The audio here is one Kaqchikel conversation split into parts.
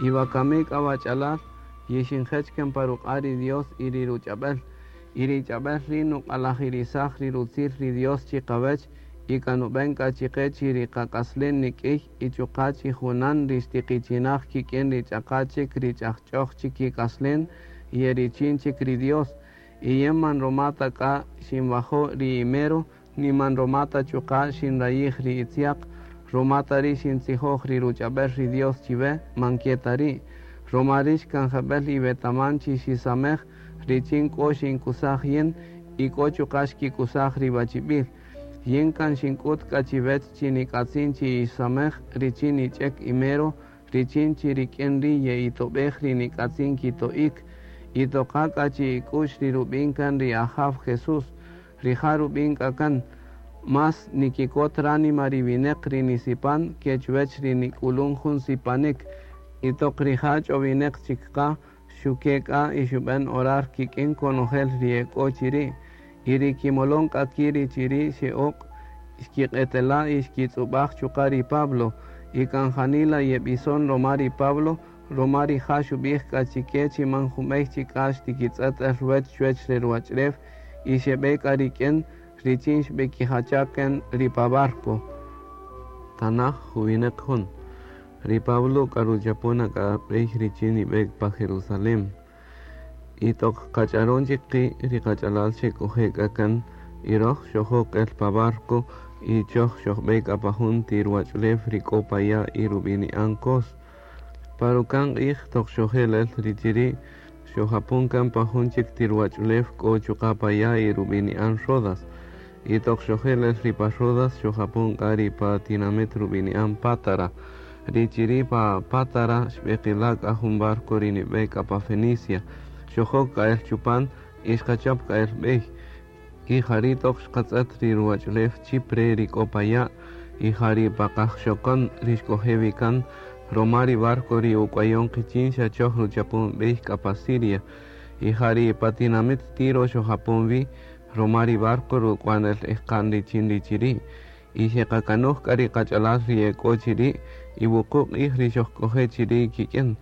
Y wakami k'a wach'alal, yixinjech kan pa ruq'a' ri Dios y ri ruch'ab'el. Y ri ch'ab'el ri' nuq'alajirisaj ri rutzil ri Dios chiqawech y kan nub'en k'a chiqe chi ri qak'aslen nik'iy y chuqa' chi junan ri xtiqichinaj kik'in ri ch'aqa chik ri ch'ajch'oj chik kik'aslen y e richin chik ri Dios. Y yin man roma ta k'a xinwajo' ri imero, ni man roma ta chuqa' xinrayij ri itziaq, roma ta ri' xintzijoj ri ruch'ab'el ri Dios chiwe, man ke ta ri'. Roma rix kan jeb'el iwetaman chi xisamej richin k'o xinkusaj yin y k'o chuqa' xkikusaj ri wachib'il. Yin kan xink'ut k'a chiwech chi nik'atzin chi yixsamej richin nich'ek imero, richin chi rik'in ri' ye'itob'ej ri nik'atzin kito'ik. Y toqa k'a chi ik'u'x ri rub'in kan ri Ajaw Jesús. Rija' rub'in k'a kan: Más nikikot ránima ri wineq ri nisipan ke chuwech ri nik'ulun jun sipanik. Y toq rija' ch'owineq chik qa, xuke' k'a y xub'en orar kik'in konojel ri e k'o chiri'. Y ri kimolon k'a ki' ri chiri' xe'oq', xkiq'etela' y xkitz'ub'aj chuqa' ri Pablo. Y kan janila yeb'ison roma ri Pablo, roma rija' xub'ij k'a chike chi man junb'ey chik k'a xtikitz'ët el ruwech chuwech re ruwach'ulew y xeb'e k'a rik'in richin xb'ekijacha' kan ri pa barco. Tanaj 21. Ri Pablo k'a ruchapon k'a b'ey richin nib'e pa Jerusalén. Y toq qach'aron chik qi' ri qach'alal xek'oje' k'a kan y roj xojok el pa barco y choj xojb'e k'a pa jun ti ruwach'ulew ri k'o pa ya' y rub'ini'an Cos. Pa ruka'n q'ij toq xojel el ri chiri' xojapon kan pa jun chik ti ruwach'ulew k'o chuqa' pa ya' y rub'ini'an Rodas. Y toq xojel el ri pa Rodas xojapon k'a ri pa tinamit rub'ini'an Pátara. Ri chiri' pa Pátara xb'eqila' k'a jun barco ri nib'e k'a pa Fenicia. Xojok k'a el chupan y xqachap k'a el b'ey. Y jari' toq xqatz'ët ri ruwach'ulew Chipre ri k'o pa ya' y ja ri pa qajxokon ri xk'oje' wi kan roma ri barco ri uk'wayon qichin xa choj ruchapon b'ey k'a pa Siria. Y ja ri pa tinamit Tiro xojapon wi roma ri barco ruk'wan el ejqa'n richin ri chiri'. Y xeqakanoj k'a ri qach'alal ri e k'o chiri' y wuqu' q'ij ri xojk'oje' chiri' kik'in.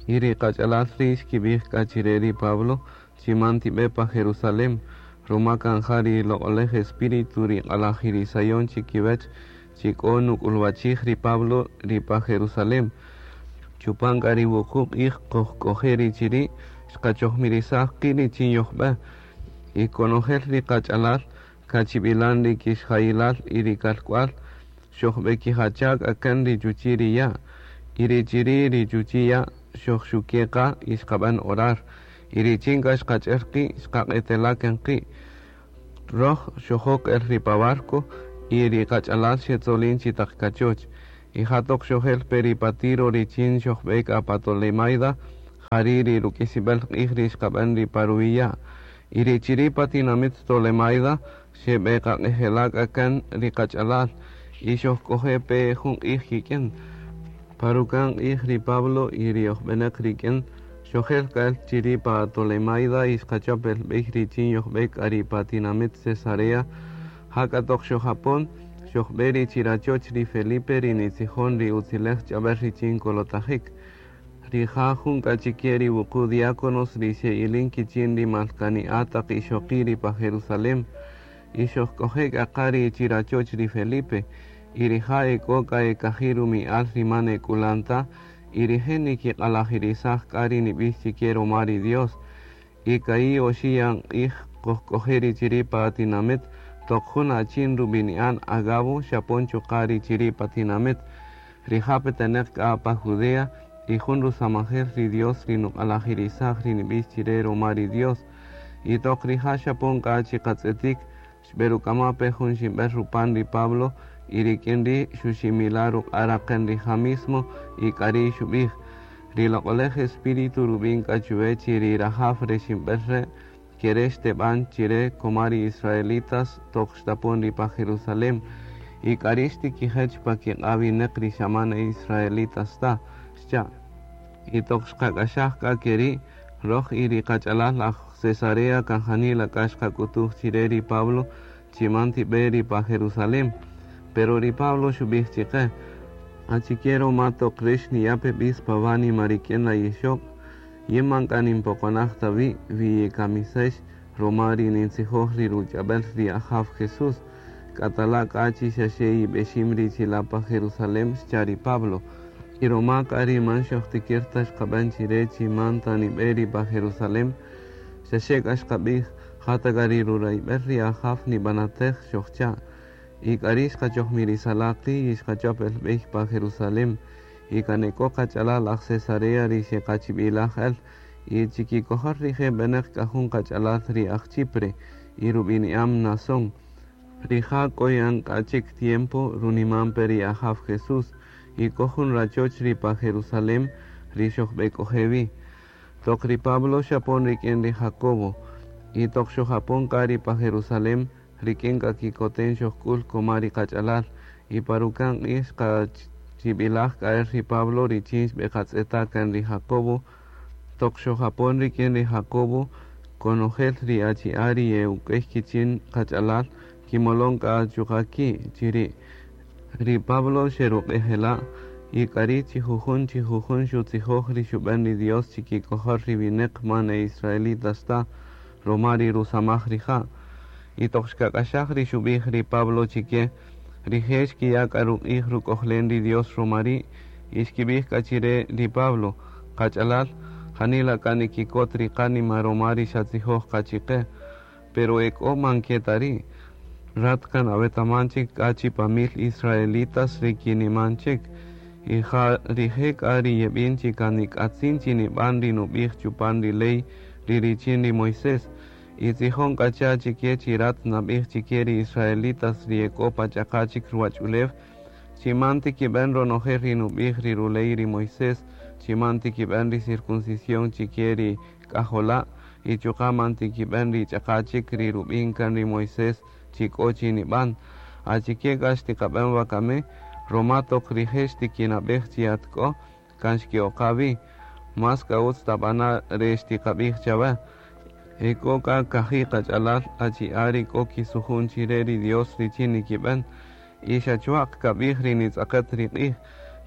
Y ri qach'alal ri' xkib'ij k'a chire ri Pablo chi man tib'e pa Jerusalén, roma kan ja ri loq'olej Espíritu ri q'alajirisayon chikiwech chi k'o nuk'ulwachij ri Pablo ri pa Jerusalén. Chupan k'a ri wuqu' q'ij qojk'oje' ri chiri' xqachojmirisaj qi' richin yojb'e. Y konojel ri qach'alal kachib'ilan ri kixjayilal y ri kalk'wal xojb'ekijacha' k'a kan ri chuchi' ri ya'. Y ri chiri' ri chuchi' ya' xojxuke' qa y xqab'an orar. Y richin k'a xqach'er qi' xqaq'etela' kan qi'. Roj xojok el ri pa barco y ri qach'alal xetzolin chi taq kachoch. Y ja toq xojel pe ri pa Tiro richin xojb'e k'a pa Tolemaida, jari' ri ruk'isib'el q'ij ri xqab'an ri pa ruwi' ya'. Y ri chiri' pa tinamit Tolemaida xeb'eqaq'ejela' k'a kan ri qach'alal y xojk'oje' pe jun q'ij kik'in. Pa ruka'n q'ij ri Pablo y ri ojb'enaq rik'in xojel k'a el chiri' pa Tolemaida y xqachap el b'ey richin yojb'e k'a ri pa tinamit Cesarea. Ja k'a toq xojapon xojb'e ri chirachoch ri Felipe ri nitzijon ri utzilej ch'ab'el richin kolotajik. Rija' jun k'a chike ri wuqu' diáconos ri xe'ilin kichin ri malkani'a taq ixoqi' ri pa Jerusalén. Y xojk'oje' k'a qa ri chirachoch ri Felipe. Y rija' e k'o k'a e kaji' rumi'al ri man e k'ulan ta y rije' nikiq'alajirisaj k'a ri nib'ix chike roma ri Dios. Y ka'i' oxi' yan q'ij qojk'oje' ri chiri' pa tinamit toq jun achin rub'ini'an Agabo xapon chuqa' ri chiri' pa tinamit. Rija' peteneq k'a pa Judea y jun rusamajel ri Dios ri nuq'alajirisaj ri nib'ix chire roma ri Dios. Y toq rija' xapon k'a chiqatz'etik xb'eruk'ama' pe jun ximb'el rupan ri Pablo y rik'in ri' xuximila' ruq'a' raqen rija' mismo y k'ari' xub'ij: Ri loq'olej Espíritu rub'in k'a chuwe chi ri rajaw re ximb'el re' kere' xteb'an chire koma ri israelitas toq xtapon ri pa Jerusalén. Y k'ari' xtikijech pa kiq'a' wineq ri xa man e israelitas ta, xcha'. Y toq xqak'axaj k'a keri' roj y ri qach'alal aj Cesarea kan janila k'a xqak'utuj chire ri Pablo chi man tib'e ri pa Jerusalén. Pero ri Pablo xub'ij chiqe: Achike roma toq rix niya' pe b'is pa wánima rik'in la yixoq, yin man k'a ninpoqonaj ta wi' wi yikamisex roma ri nintzijoj ri ruch'ab'el ri Ajaw Jesús. K'atala' k'a chi xaxe yib'exim ri chila' pa Jerusalén, xcha' ri Pablo. Y roma k'a ri man xojtikir ta xqab'en chire chi man ta nib'e ri pa Jerusalén, xaxe k'a xqab'ij, ja ta k'a ri rurayb'el ri Ajaw nib'anatej, xojcha'. Y k'ari' xqachojmirisala' qi' y xqachop el b'ey pa Jerusalén. Y kan ek'o qach'alal aj Cesarea ri xeqachib'ilaj el, y chikikojol rije' b'enäq k'a jun qach'alal ri aj Chipre y rub'ini'am Mnasón. Rija' k'o yan k'a chik tiempo runiman pe ri Ajaw Jesús, y k'o jun rachoch ri pa Jerusalén ri xojb'ek'oje' wi. Toq ri Pablo xapon rik'in ri Jacobo, y toq xojapon k'a ri pa Jerusalén, rik'in k'a kikoten xojk'ul koma ri qach'alal, y pa ruka'n q'ij xqachib'ilaj k'a el ri Pablo richin xb'eqatz'eta' kan ri Jacobo. Toq xojapon rik'in ri Jacobo, konojel ri achi'a' ri ye'uk'ey kichin qach'alal kimolon k'a chuqa' ki' chiri'. Ri Pablo xeruq'ejela' y k'ari' chi jujun chi jujun xutzijoj ri xub'en ri Dios chikikojol ri winäq man e israelitas ta roma ri rusamaj rija'. Y toq xkak'axaj ri xub'ij ri Pablo chike, rije' xkiya' k'a ruq'ij ruk'ojlen ri Dios roma ri', y xkib'ij k'a chire ri Pablo, qach'alal, janila k'a nikikot ri qánima roma ri xatzijoj qa chiqe, pero ek'o man ke ta ri'. Rat kan awetaman chik k'a chi pa mil israelitas ri kiniman chik, y ja rije' k'a ri yeb'in chi kan nik'atzin chi nib'an ri nub'ij chupan ri ley ri richin ri Moisés. Y tzijon k'a cha chike chi rat nab'ij chike ri israelitas ri ek'o pa ch'aqa chik ruwach'ulew, chi man tikib'en ronojel ri nub'ij ri ruley ri Moisés, chi man tikib'en ri circuncisión chike ri k'ajola', y chuqa' man tikib'en ri ch'aqa chik ri rub'in kan ri Moisés chi k'o chi nib'an. Achike k'a xtiqab'en wakami, roma toq rije' xtikinab'ej chi at k'o, kan xke'oqa wi. Más k'a utz tab'ana' re xtiqab'ij chawe. Ek'o k'a kaji' qach'alal achi'a' ri k'o kisujun chire ri Dios richin nikib'en, y xa chwa'q kab'ij ri nitz'aqet ri q'ij,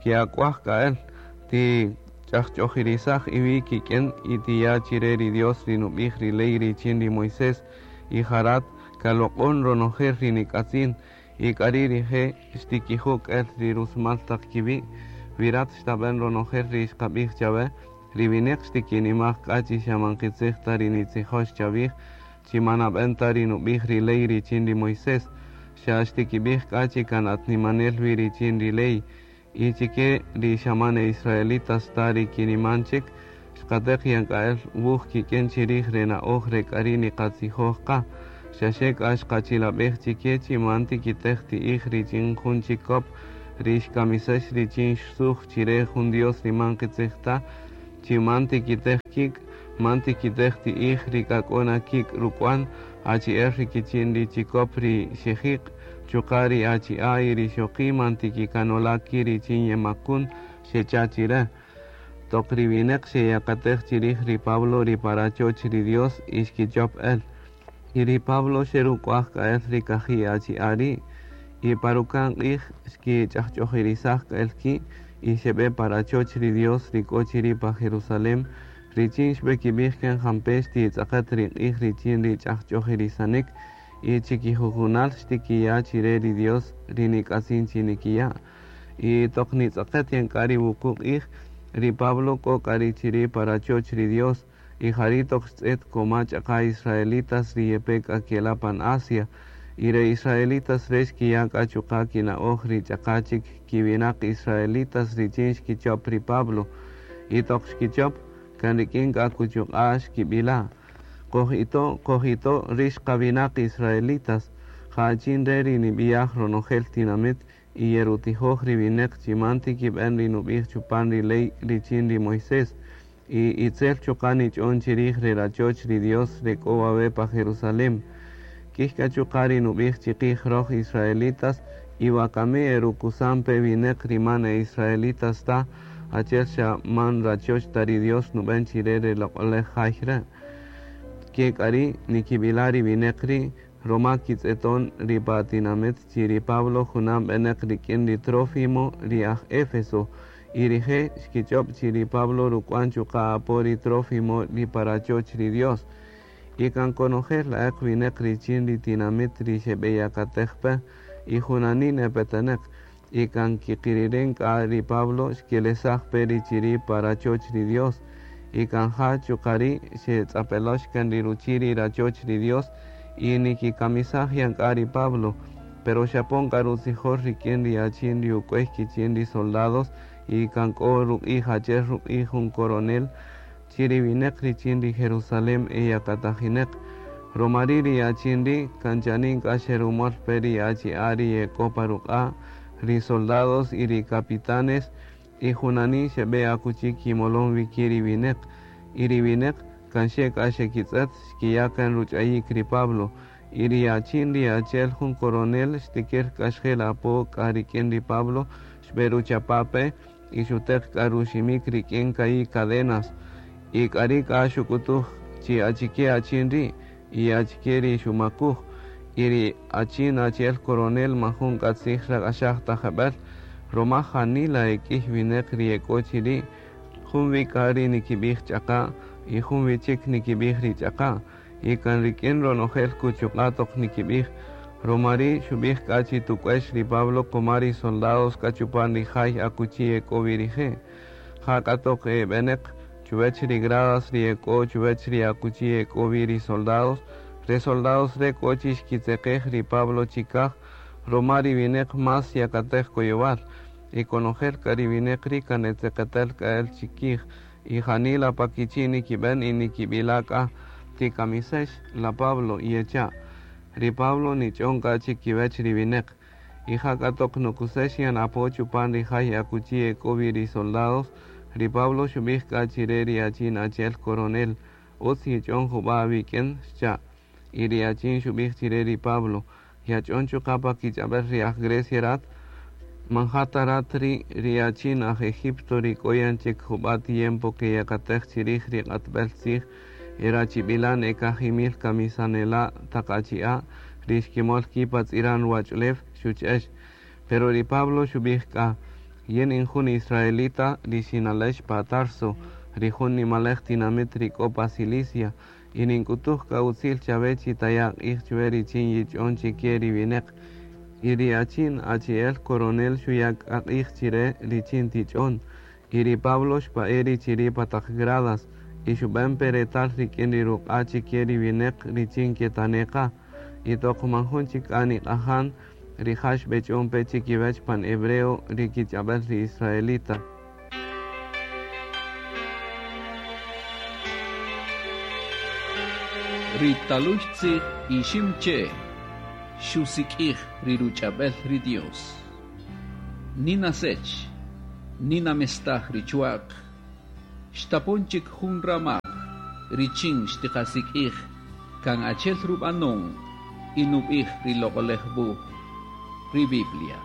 ke'ak'uaj k'a el, tich'ajch'ojirisaj iwi' kik'in y tiya' chire ri Dios ri nub'ij ri ley richin ri Moisés, y ja rat kaloq'on ronojel ri nik'atzin, y k'ari' rije' xtikiju' el ri rusmal taq kiwi', wi rat xtab'en ronojel ri xqab'ij chawe, ri winäq xtikinimaj k'a chi xa man qitzij ta ri nitzijox chawij, chi man nab'en ta ri nub'ij ri ley richin ri Moisés, xa xtikib'ij k'a chi kan at nimanel wi richin ri ley, y chike ri xa man e israelitas ta ri kiniman chik, xqateq yan k'a el wuj kik'in chirij re na'oj re k'ari' niqatzijoj qa, xaxe k'a xqachilab'ej chike chi man tikitej ti'ij richin jun chikop ri xkamisex richin xsuj chire jun Dios ri man qitzij ta, chi man tikitej kik', man tikitej ti'ij ri k'a k'o na kik' ruk'wan, achi'el ri kichin ri chikop ri xejiq', chuqa' ri achi'a' y ri xoqi' man tikikanola' ki' richin yemakun, xecha' chire. Toq ri winäq xeyakatej chirij ri Pablo ri pa rachoch ri Dios y xkichop el. Y ri Pablo xeruk'uaj k'a el ri kaji' achi'a' ri', y pa ruka'n q'ij xkich'ajch'ojirisaj k'a el ki' y xeb'e pa rachoch ri Dios ri k'o chiri' pa Jerusalén, richin xb'ekib'ij kan jampe' xtitz'aqet ri q'ij richin ri ch'ajch'ojirisanik, y chikijujunal xtikiya' chire ri Dios ri nik'atzin chi nikiya'. Y toq nitz'aqet yan k'a ri wuqu' q'ij, ri Pablo k'o k'a ri chiri' pa rachoch ri Dios, y jari' toq xtz'et koma ch'aqa israelitas ri yepe k'a kela' pan Asia, y re israelitas re xkiya' k'a chuqa' kina'oj ri ch'aqa chik kiwinaq israelitas richin xkichop ri Pablo, y toq xkichop kan rik'in k'a kuchuq'a' xkib'ila', Qojito', qojito' rix qawinaq israelitas, ja achin re' ri nib'iyaj ronojel tinamit y yerutijoj ri winäq chi man tikib'en ri nub'ij chupan ri ley richin ri Moisés, y itzel chuqa' nich'on chirij re rachoch ri Dios re k'o wawe' pa Jerusalén. K'ij k'a chuqa' ri nub'ij chiqij roj israelitas, y wakami erukusan pe winäq ri man e israelitas ta, achi'el xa man rachoch ta ri Dios nub'en chire re loq'olej jay re'. Ke k'a ri' nikib'ila' ri winäq ri', roma kitz'eton ri pa tinamit chi ri Pablo junan b'eneq rik'in ri Trófimo ri aj Éfeso, y rije' xkich'ob' chi ri Pablo ruk'wan chuqa' apo ri Trófimo ri pa rachoch ri Dios. Y kan konojel la'eq wineq richin ri tinamit ri xeb'eyakatej pe y junanin epeteneq, y kan kiqiriren k'a ri Pablo xkelesaj pe ri chiri' pa rachoch ri Dios, y kan ja chuqa' ri' xetz'apelox kan ri ruchi' ri rachoch ri Dios, y nikikamisaj yan k'a ri Pablo, pero xapon k'a rutzijol rik'in ri achin ri uk'uey kichin ri soldados, y kan k'o ruq'ij achi'el ruq'ij jun coronel, chi ri wineq richin ri Jerusalén eyakatajineq. Roma ri' ri achin ri' kan chanin k'a xerumol pe ri achi'a' ri ek'o pa ruq'a', ri soldados y ri capitanes, y junanin xeb'e akuchi kimolon wi ki' ri wineq. Y ri wineq kan xe k'a xekitz'ët xkiya' kan ruch'ayik ri Pablo, y ri achin ri achi'el jun coronel xtikir k'a xjel apo k'a rik'in ri Pablo, xb'eruchapa' pe y xuteq k'a ruximik rik'in ka'i' cadenas, y k'ari' k'a xuk'utuj chi achike achin ri' y achike ri xumakuj, y ri achin achi'el coronel man jun k'a tzij xrak'axaj ta jeb'ël, roma janila e k'ïy wineq ri e k'o chiri', jun wi k'a ri nikib'ij ch'aqa' y jun wi chik nikib'ij ri ch'aqa', y kan rik'in ronojel kuchuq'a' toq nikib'ij, roma ri' xub'ij k'a chi tuk'uex ri Pablo kuma ri soldados k'a chupan ri jay akuchi e k'o wi rije', ja k'a toq e b'eneq chuwech ri gradas ri e k'o chuwech ri akuchi e k'o wi ri soldados, re soldados re' k'o chi xkitzeqej ri Pablo chikaj, roma ri wineq más yakatej koyowal, y konojel k'a ri wineq ri' kan e tzeqetel k'a el chikij, y janila pa kichi' nikib'en y nikib'ila' k'a tikamisex la Pablo yecha'. Ri Pablo nich'on k'a chikiwech ri wineq, y ja k'a toq nukusex yan apo chupan ri jay akuchi e k'o wi ri soldados, ri Pablo xub'ij k'a chire ri achin achi'el coronel, utz yich'on jub'a' awik'in, xcha'. Y ri achin xub'ij chire ri Pablo, yach'on chuqa' pa kich'ab'el ri aj Grecia rat, man ja ta rat ri' ri achin aj Egipto ri k'o yan chik jub'a' tiempo keyakatej chirij ri q'atb'el tzij e rachib'ilan e kajimil kamisanela' taq achi'a' ri xkimol ki' pa tz'iran ruwach'ulew xuch'ex. Pero ri Pablo xub'ij k'a, yin in jun israelita ri xinalex pa Tarso, ri jun nimalej tinamit ri k'o pa Cilicia, y nink'utuj k'a utzil chawe chi taya' q'ij chwe richin yich'on chike ri wineq. Y ri achin achi'el coronel xuya' k'a q'ij chire richin tich'on. Y ri Pablo xpa'e' ri chiri' pa taq gradas, y xub'en pe retal rik'in ri ruq'a' chike ri wineq richin ketane' qa. Y toq man jun chik k'a niq'ajan, rija' xb'ech'on pe chikiwech pan hebreo ri kich'ab'el ri israelita. Ri taluy tzij Iximche' xusik'ij ri ruch'ab'el ri Dios. Nina sech, nina mestaj ri chwa'q, xtapon chik jun ramaj richin xtiqasik'ij kan achi'el rub'anon y nub'ij ri Loq'oläj Wuj, ri Biblia.